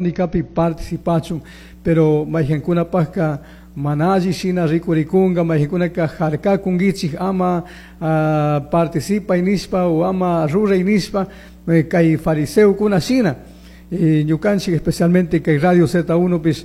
Nikapi participachun, pero mayqankunapaqqa mana alli shina rikurikunqa, mayqankunaka harkakunkichik ama participay nishpa o ama ruray nishpa, kay fariseokuna shina. Ñukanchik especialmente kay Radio Z1 pish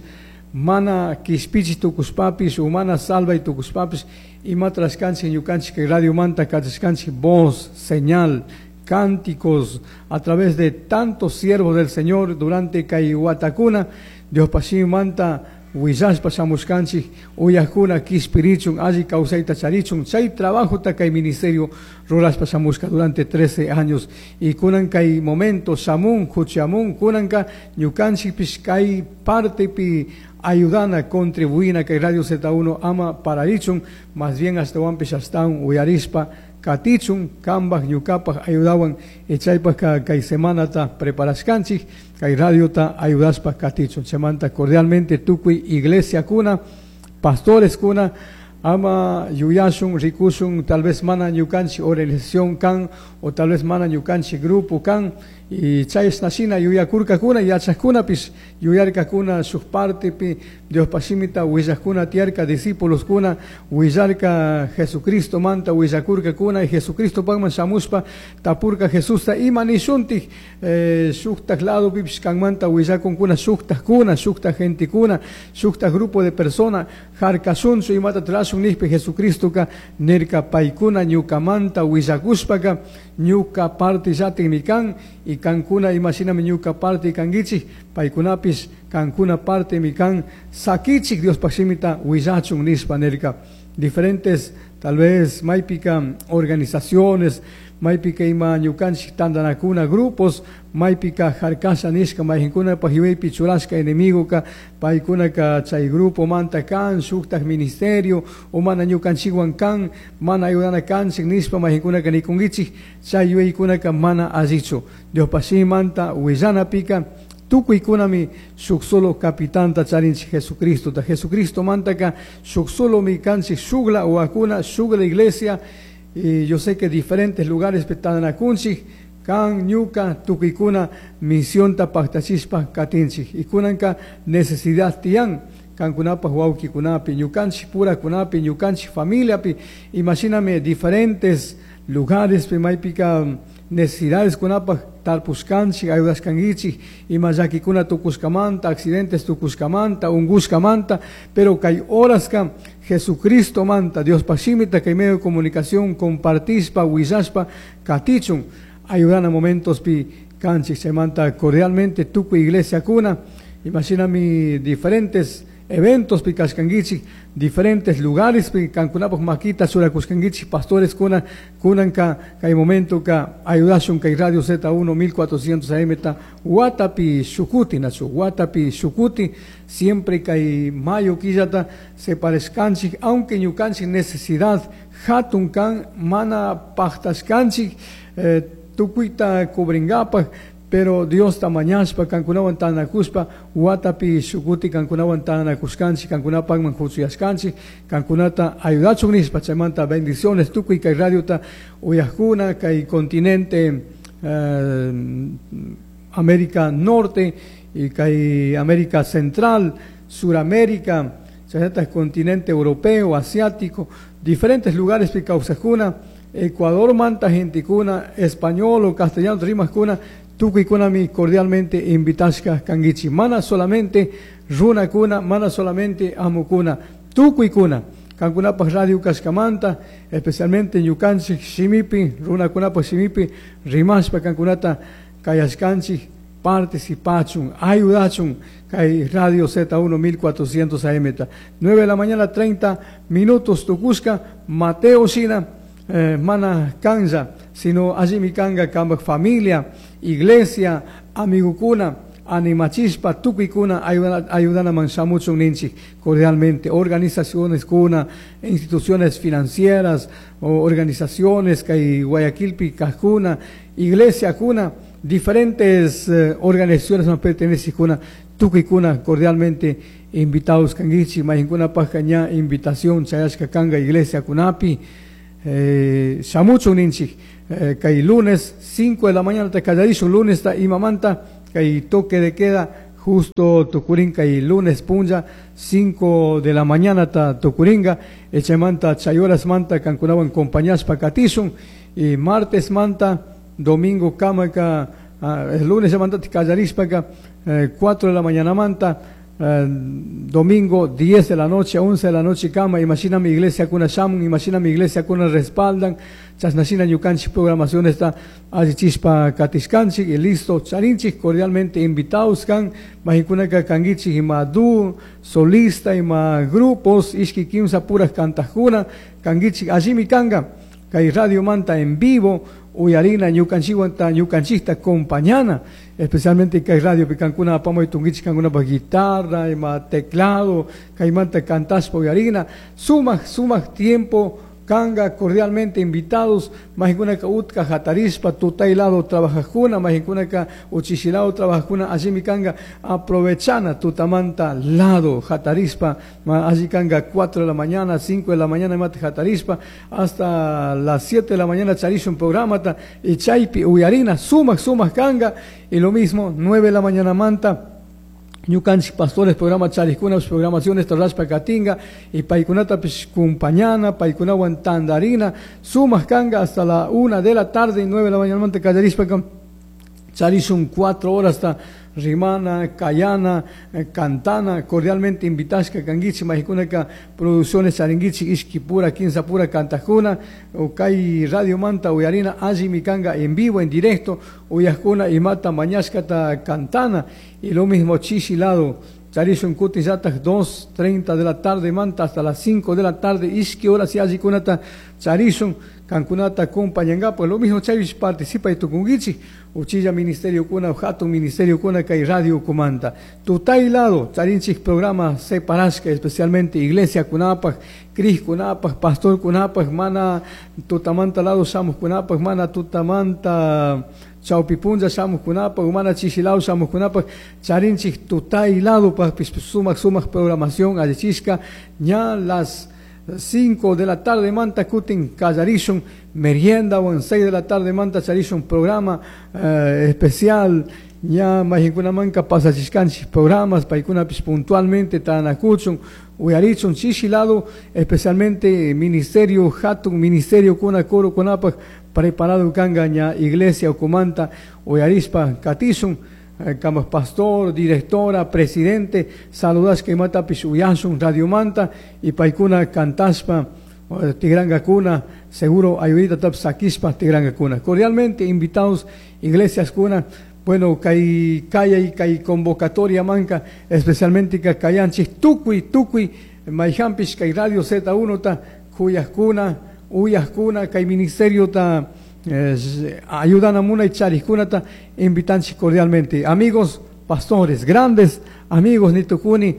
mana kishpichi tukushpapish o mana salvay tukushpapish, imata rashkanchik ñukanchik kay radiomanta kachashkanchik voz, señal, cánticos a través de tantos siervos del Señor durante kay watakuna, Diospa shimimanta willashpa shamushkanchik, uyajkuna kishpirichun, alli kawsayta charichun. Chay trabajota kay ministerio rurashpa shamushka durante 13 años y kunan kay momento shamun, huchamun, kunanka ñukanchikpish kay partepi ayudana, contribuina kay Radio Z1 ama pararichun, más bien ashtawanpish ashtawan uyarishpa katichun, kambaj ñukapaj ayudawan. Chaypajka kay semanata preparashkanchik kay radiota ayudashpa katichun. Chaymanta cordialmente tukuy iglesiakuna, pastores kuna, ama yuyashun, rikushun tal vez mana ñukanchik organización kan o tal vez mana ñukanchik grupo kan. Y chayshna shina yuyakurkakuna yachajkunapish, yuyarkakuna shuk partepi Diospa shimita willajkuna tiyarka, discípuloskuna willarka, Jesucristo manta willakurkakuna. Y Jesucristo pakman shamushpa tapurka Jesusta: "Ima nishuntik? Shuktak ladopipish kanmanta willakunkuna shuktakuna, shuktak gentekuna, shuktak grupo de persona, harkashunchu, imata rashun?" nijpi, Jesucristoka nirka: "Paykuna ñukamanta willakushpaka ñuka parte llatikmi kan, y kankuna imashinami ñuka parte kankichik, paykunapish kankuna partemi kan, sakichik Diospaj shimita willachun" nishpa nirka. Diferentes tal vez maypika organizaciones, maypika ima ñukanchik tantanakuna, grupos, maypika harkasha nishka, mayqinkunapaj yuyaypi churashka enemigoka paykunaka chay grupo manta kan, shuktak ministerio o mana ñukanchikwan kan, mana ayudana kanchik nishpa mayqinkunaka nikunkichik. Chay yuyaykunaka mana allichu. Diospaj shimimanta willanapika tukuykunami shuk solo capitanta charinchik, Jesucristota. Jesucristo mantaka shuk solomi kanchik, shukla wawakuna, shukla iglesia. Y yo sé que diferentes lugares tantanakunchik, kan, ñuka, tukuykuna misionta paktachishpa katinchik. Y kunanka necesidad tiyan kankunapaj wawkikunapi, ñukanchik purakunapi, ñukanchik familiapi. Imashinami diferentes lugares maypika necesidades kunapaj tarpushkanchik, ayudashkankichik, ima llakikuna tukushkamanta, accidentes tukushkamanta, ungushkamanta. Pero kay horaska Jesucristo manta, Diospaj shimita kay medio de comunicación compartishpa willashpa katichun ayudana momentospi kanchik. Chaymanta cordialmente tukuy iglesiakuna, imashinami diferentes eventos pi kashkankichik, diferentes lugares pi kankunapaj makita churakushkankichik, pastores kuna, kunanka kay momento ka ayudashun kay Radio Z1 1400 AM ta watapi shukuti, nachu watapi shukuti. Siempre kay mayo killata separashkanchik, aunque ñukanchik necesidad hatun kan, mana paktashkanchik tukuyta cubringapaj, pero Diosta mañashpa, kankunawan tantanakushpa, watapi shukuti kankunawan tantanakushkanchik, kankunapakman huchuyashkanchik, kankunata ayudachun nishpa. Chaymanta bendiciones tukuy kay radiota uyajkuna, kay continente América Norte y kay América Central, Suramérica, chayllatak continente europeo, asiático, diferentes lugares pi kawsajkuna, Ecuador manta gentekuna, español o castellano rimajkuna, tukuykunami cordialmente invitashka kankichik. Mana solamente runakuna, mana solamente amukuna, tukuykuna. Kankunapaj radio kashkamanta, especialmente ñukanchik shimipi, runakunapaj shimipi, rimashpa kankunata kayashkanchik, participachun, ayudachun, kay Radio Z1 1400 AM. 9 de la mañana 30 minutos tukushka. Mateo shina mana kanlla, sino allimi kanga kambaj familia, iglesia, amigokuna, animachishpa tukuykuna ayudanaman shamuchun ninchik cordialmente. Organizaciones kuna, instituciones financieras o organizaciones kay Guayaquilpi kajkuna, iglesia kuna, diferentes organizaciones man pertenecen kuna, tukuykuna cordialmente invitados kankichik. Mayqinkunapajka ña invitación chayashka kanga iglesia kunapi, shamuchun ninchik. Kay lunes 5 de la mañana ta kallarishun, lunes ta imamanta kay toque de queda. Justo tukurinka y lunes punlla 5 de la mañana ta tukuringa. Chaymanta chay horas manta kankunawan compañashpa katishun. Y martes manta domingo kamaka, el lunes manta kallarishpaka 4 de la mañana manta, domingo 10 de la noche, 11 de la noche kama. Imagina mi iglesia kuna shamun, imagina mi iglesia kuna respaldan, chasnashina ñukanchik programación está allichishpa katishkanchik y listo, charinchik cordialmente invitados kan, maykunaka kangichik ima du, solista, ima grupos, ishki kimsa puras kantajkuna, kangichik allimi kanga, kay Radio Manta en vivo, uyarina ñukanchikwanta ñukanchikta compañana, especialmente kay radio kankuna apamuy tunkichik kankunapaj guitarra, ima teclado, kaymanta kantashpa uyarina, sumak sumak tiempo kanga, cordialmente invitados, maykunaka utka hatarishpa tutay lado trabajajkuna, maykunaka uchishilado trabajajkuna, allimi kanga aprovechana tutamanta lado hatarishpa, alli kanga 4 de la mañana, 5 de la mañana mate hatarishpa, hasta las 7 de la mañana charishun programata, y chaypi uyarina, sumak sumak kanga, y lo mismo 9 de la mañana manta, ñukanchik pastores programa charikuna programaciones rashpa katinga y paykunatapish kumpañana paykunawan tandarina sumak kanga hasta la 1 de la tarde y 9 de la mañana manta kallarishpa charishun 4 horas hasta rimana, kayana, cantana, cordialmente invitashka kangichik maykunaka producciones charingichik ishki pura, kinsa pura kantajkuna, o kay Radio Manta uyarina allimi kanga en vivo, en directo, uyajkuna imata mañashkata cantana, y lo mismo chishi lado, charishun kutin llatak 2:30 de la tarde manta hasta las 5 de la tarde, ishki horas y allikunata charishun, kankunata acompañangapak, lo mismo chaypish participa y tukunkichik, uchilla ministerio kuna, hatun ministerio kuna, kay radio kumanta. Tutay lado, charinchik programa separashka, especialmente iglesia kunapaj, cris kunapaj, pastor kunapaj, mana tutamanta lado shamuj kunapaj, mana tutamanta chawpipunlla shamuj kunapaj, mana chishilao shamuj kunapaj, charinchik tutay lado pajpish sumak sumak programación allichishka, ña las 5 de la tarde manta kutin kallarishun merienda o en 6 de la tarde manta charishun programa especial, ña mayinkunamanka pasachishkanchik programas paykunapish puntualmente tanakuchun uyarichun chishi lado, especialmente ministerio hatun ministerio kuna coro kunapaj preparado kanga ña iglesia ukumanta uyarishpa katishun, como pastor, directora, presidente, saludashka imatapish uyashun Radio Manta y paykuna kantashpa tigrangakuna, seguro ayudita tap sakishpa tigrangakuna. Cordialmente invitados iglesias kuna, bueno, kay kaya kay convocatoria manka, especialmente ka kayanchik tukuy tukuy mayhampish kay Radio Z1 ta kuyajkuna, uyajkuna kay ministerio ta ayudan a munay charikkunata invitanchik cordialmente. Amigos pastores, grandes amigos nitukuni,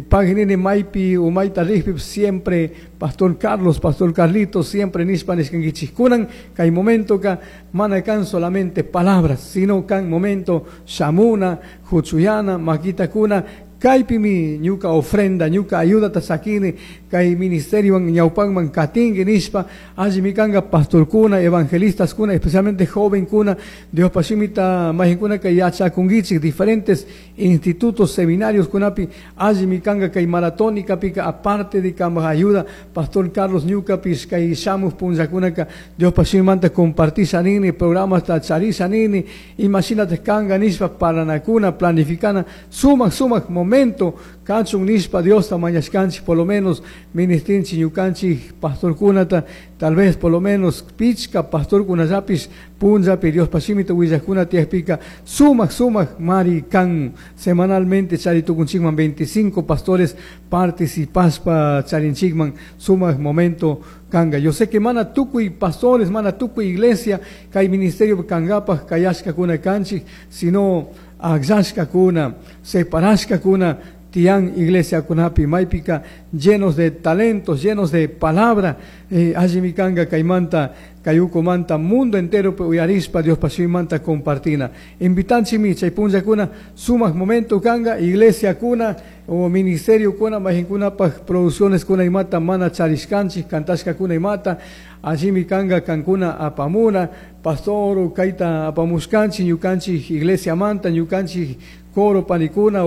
paginini maypi umayta rijpi siempre pastor Carlos, pastor Carlitos, siempre nishpa nishkankichikkunan, kay momento ka mana kan solamente palabras, sino kan momento shamuna, huchuyana, makitakuna, kaypimi ñuka ofrenda, ñuka ayudata sakini, kay ministerio ñawpanman katinki nishpa, allimi kanga pastorkuna, evangelistas kuna, especialmente joven kuna, Dios pashimita majinkuna kay yachakunkichik diferentes institutos, seminarios kunapi, allimi kanga kay maratónica pika, aparte de kama ayuda, pastor Carlos ñukapish kay shamuj punllakunaka, Dios pashimanta compartisha nini, programas ta charisha nini, imagínate kanga nishpa paranakuna, planificana, sumak sumak momento, kachun nishpa Dios ta mañashkanchik, por lo menos ministrinchik ñukanchik pastor kunata, tal vez por lo menos pichka pastor kunallapish punllapi Dios pashimita willajkuna tiyajpika, sumak sumak mari kan semanalmente charitukunchikman 25 pastores participashpa charinchikman sumak momento kanga. Yo sé que mana tukuy pastores, mana tukuy iglesia, kay ministerio kangapaj kayashkakuna kanchik, sino akllashkakuna, separashkakuna tian iglesia kunapi maypika llenos de talentos, llenos de palabra, allimi kanga kaymanta kayukumanta mundo entero uyarispa Dios pashimanta compartina. Invitanchimi chay punllakuna sumak momento kanga iglesia kuna O ministerio kuna mayqinkunapaq producciones kuna imata mana charishkanchik cantashkakuna imata allimi kanka kankuna apamuna pastor kayta apamushkanchik ñukanchik iglesiamanta ñukanchik coro panikuna.